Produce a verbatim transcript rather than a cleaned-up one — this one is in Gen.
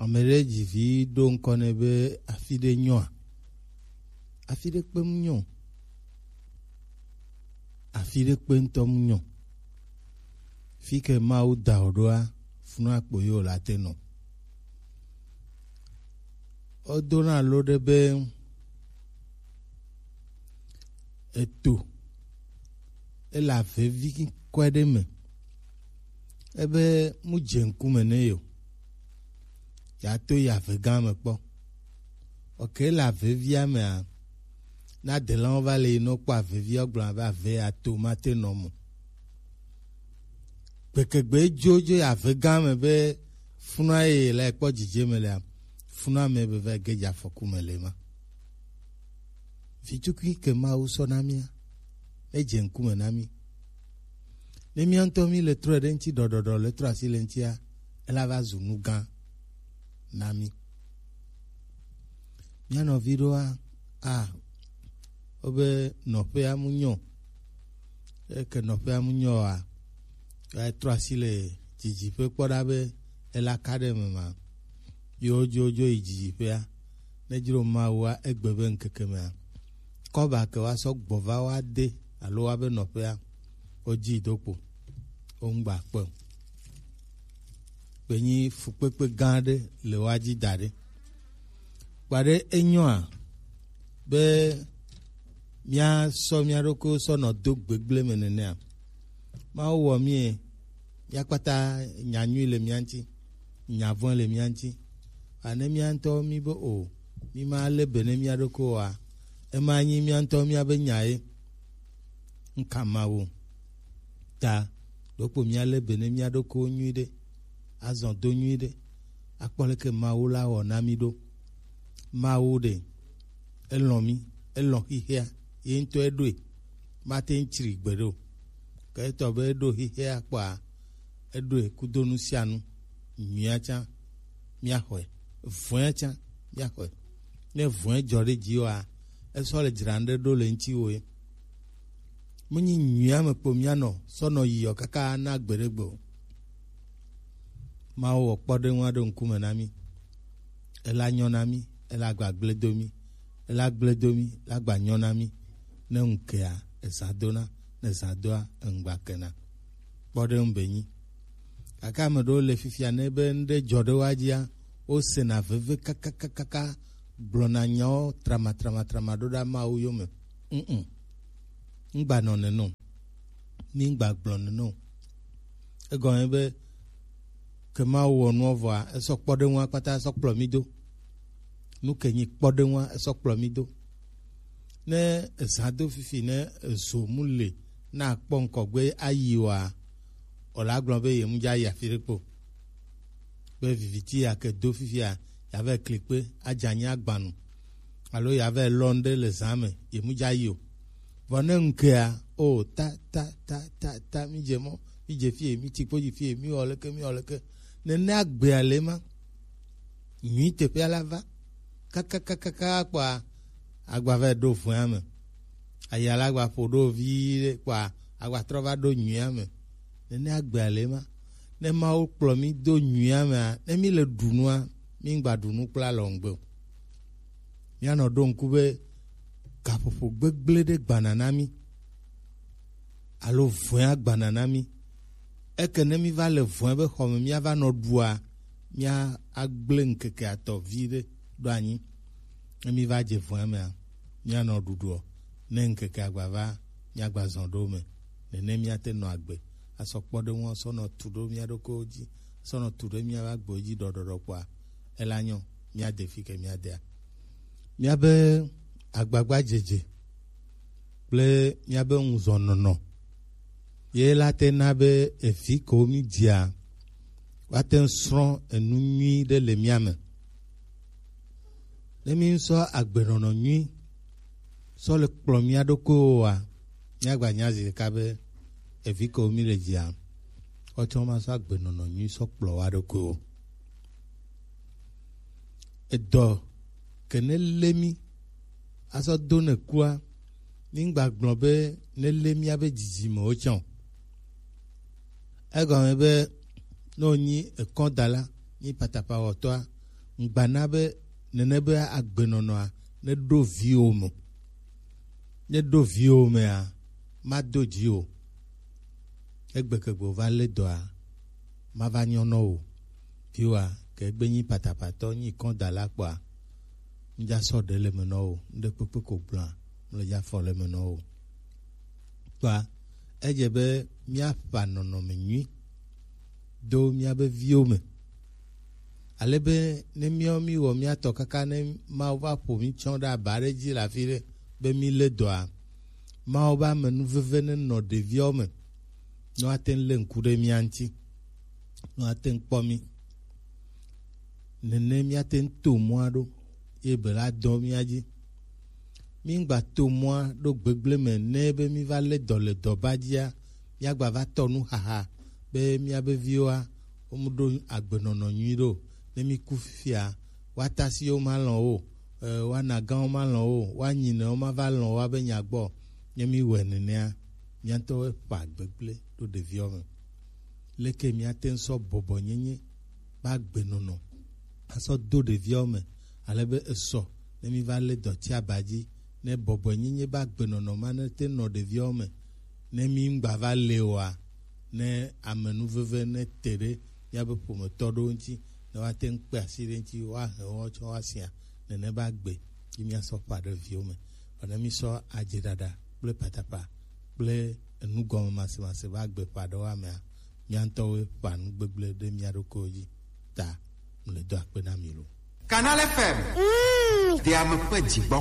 Ame ɖe dzi vi ɖo ŋkɔ nɛ be afi ɖe nyɔa? Afi ɖe kpe mu nyɔ. Afi ɖe kpe ŋutɔ mu nyɔ. Fi ke Mawu da wò ɖoa, funu akpo ye wòle ate nɔ. Wodona lo ɖe be eto ele avevi kɔe ɖe me. Ebe mu dze ŋkume nɛ yo. Ya to yi ave gã me kpɔ. Oke le avevia mea, na delawo va le yi nɔ kpɔ avevia gblɔ be ave ya to mate nɔ mo. Gbekegbe dzo dzo yi ave gã me be funua ye la kpɔ dzidze me lea, funua me be va ge dze afɔku me le ma. Vitukui ke Mawu sɔ na mía, edze ŋkume na mí. Ne mía ŋutɔ mí le trɔe ɖe ŋuti ɖɔɖɔɖɔ le trɔ asi le ŋutia, ela va zu nu gã na mí. Mía nɔvi ɖoa, a, wobe nɔƒea mu nyɔ. Eke nɔƒea mu nyɔ oa, ya trɔ asi le dzidziƒe kpɔ ɖa be ela ka ɖe eme ma. Yo dzo dzo yi dzidziƒea. Ne dzro Mawua egbe be ŋkeke mea, kɔba ke wa sɔ gbɔ va wa de alo wa be nɔƒea, wo dzi do kpo. Wo ŋgba kpe o. Be nyi fukpekpe gã aɖe le wa dzi da ɖe. Kpaɖe enyɔa be míasɔ mía ɖokuiwo sɔ nɔ do gbegblẽ me nenea? Mawu wɔ mí e, mía kpata nya nyui le mía ŋuti, nya vɔ̃e le mía ŋuti. Ane mía ŋutɔ mí be o, mí ma lé be ne mía ɖokuiwo oa, ema nyi mía ŋutɔ mía be nya ye. Ŋka Mawu ta ɖokpo mía lé be ne mía ɖokuiwo nyui ɖe, azɔ do nyui ɖe, akpɔ leke Mawu la wɔ na mí ɖo. Mawu ɖe, elɔ̃ mí, elɔ̃ xixea, ye ŋutɔ eɖoe, mate ŋu tsri gbeɖe o. Ke etɔ be eɖo xixea kpɔa, eɖoe kudo nu sia nu, nyuia tsã míaxɔe, vɔ̃ea tsã míaxɔe. Ne vɔ̃e dzɔ ɖe dziwòa, esɔ le dzra ŋɖe ɖo le ŋutiwò ye. Menyi nyuia me kpo míanɔ sɔ nɔ yiɔ kaka na gbeɖegbe o. Mawu wɔ kpɔɖeŋu aɖe ŋkume na mí. Ela nyɔ na mí, ela gba gblẽ do mí, ela gblẽ do mí, la gba nyɔ na mí. Ne ŋu kea, ezã dona, ne zã doa, eŋgba kena. Kpɔɖeŋu be nyi. Gake ame ɖewo le fifia ne be ŋɖe dzɔ ɖe woa dzia, wosena veve kakakakaka, gblɔna nyawo tramatramatrama ɖo ɖa Mawu yome. Mm-mm. Ŋgba nɔ nene o. Mi ŋgba gblɔ nene o. Egɔme be ke Mawu wɔ nua vɔa, esɔ kpɔɖeŋua kpata sɔ kplɔ mi do. Nu ke nyi kpɔɖeŋua esɔ kplɔ mi do. Ne ezã do fifi ne ezo mu le na akpɔ ŋkɔgbe ayi wa, o la gblɔ be ye mu dza yi afi ɖe kpo. Be viviti ya ke do fifia, ya va kli kpe, adza nyi agbanu. Alo ya va lɔ ŋɖe le zã me, ye mu dza yi o. Vɔ ne ŋkea, o ta, ta, ta, ta, ta, mi dze mɔ, mi dze fie, mi tsi kpo dzi fie, mi wɔ leke, mi wɔ leke. Nene agbea le ma. Nyui teƒea la va. Kakakakaka kpɔa, agba va ɖo vɔ̃ea me. Aya la gba ƒo ɖo vi ɖe kpɔa, agba trɔ va ɖo nyuia me. Nene agbea le ma. Ne Mawu kplɔ mi do nyuia mea, ne mi le ɖu nua, mi ŋgba ɖu nu kple alɔŋgbe o. Míanɔ ɖo ŋku be gaƒoƒo gbegblẽ ɖe gbana na mí alo vɔ̃e agbana na mí. Eke ne mí va le vɔ̃e be xɔ me míava nɔ ɖua, mía agblẽ ŋkeke atɔ̃ vi ɖe ɖo anyi. Ne mí va dze vɔ̃e mea, míanɔ ɖuɖuɔ. Ne ŋkeke agba va, míagba zɔ ɖo me. Nene míate nɔ agbe, asɔ kpɔɖeŋua sɔ nɔ tu ɖo mía ɖokuiwo dzi, sɔ nɔ tu ɖe míaƒe agbewo dzi ɖɔɖɔɖɔ kpɔa, ela nyɔ, míade fi ke míadea. Míabe agbagbadzedze kple míabe ŋuzɔnɔnɔ ye la te na be evi kewo mí dzia, woate ŋu srɔ̃ enu nyui ɖe le mía me. Ne mí sɔ agbenɔnɔ nyui sɔ le kplɔ mía ɖokuiwo oa, míagba nya zi ɖeka be evi kewo mí le dzia, woatsɔ ma sɔ agbenɔnɔ nyui sɔ kplɔ wa ɖokuiwo. Edɔ ke ne lé mí asɔ do ne kua, mí ŋgba gblɔ be ne lé míabe dzidzimewo tsã o. Egɔme be ne wònyi ekɔdala, nyi patapawɔtɔa, Ŋgbana be nene be agbenɔnɔa ne ɖo viwo me. Ne ɖo viwo mea, mado dzi o. Egbe ke gbe wova lé dɔa, mava nyɔ nɔ o. Viwoa, ke egbe nyi patapatɔ, nyi kɔn da la kpɔa, ŋdza sɔ ɖe le me nɔ o. Ŋɖe kpekpe ko gblɔa, mle dza fɔ le me nɔ o. Kpɔa, edze be míaƒa nɔnɔme nyui do míabe viwo me. Ale be ne míawo míwɔ mía tɔ kaka ne Mawu va ƒo mí tsɔ ɖe aba ɖe dzi le afi ɖe be mí lé dɔa, Mawu be amenuveve ne nɔ ɖeviawo me, ne woate ŋu lé ŋku ɖe mía ŋuti, ne woate ŋu kpɔ mí. Nene míate ŋu to mɔa ɖo, ye be la dɔ mía dzi. Míŋgba to mɔa ɖo gbegblẽ me ne be míva lé dɔ le dɔba dzia, míagba va tɔ nu xaxa be míabe viwoa, womu ɖo agbenɔnɔ nyui ɖo. Ne míku fifia, woata asi wo malɔ̃ wo, e, woana gã wo malɔ̃ wo, woanyi ne wo mava lɔ̃ wo abe nya gbɔ. Ne míwɔe nenea, míatɔwoe ƒa gbegblẽ ɖo ɖeviwo me. Leke míate ŋu sɔ bɔbɔnyenye be agbenɔnɔ asɔ do ɖeviawo me, ale be esɔ ne míva lé dɔti aba dzi, ne bɔbɔnyenye be agbenɔnɔ ma ne te nɔ ɖeviawo me, ne mí ŋgba va le oa, ne amenuveve ne te ɖe míabe ƒometɔ ɖewo ŋuti, ne woate ŋu kpe asi ɖe ŋuti, woahe wo tsɔ woasia, nene be agbe yi míasɔ ƒã ɖe viwo me. Vɔ ne mísɔ adzeɖaɖa kple patapa kple enugɔmemasemase be agbe ƒã ɖe woa mea, mía ŋutɔwoe ƒã nu gbegblẽ ɖe mía ɖokuiwo dzi. Ta mle do akpe na mi lo. Canal F M. Mm. Deame ƒe dzigbɔ.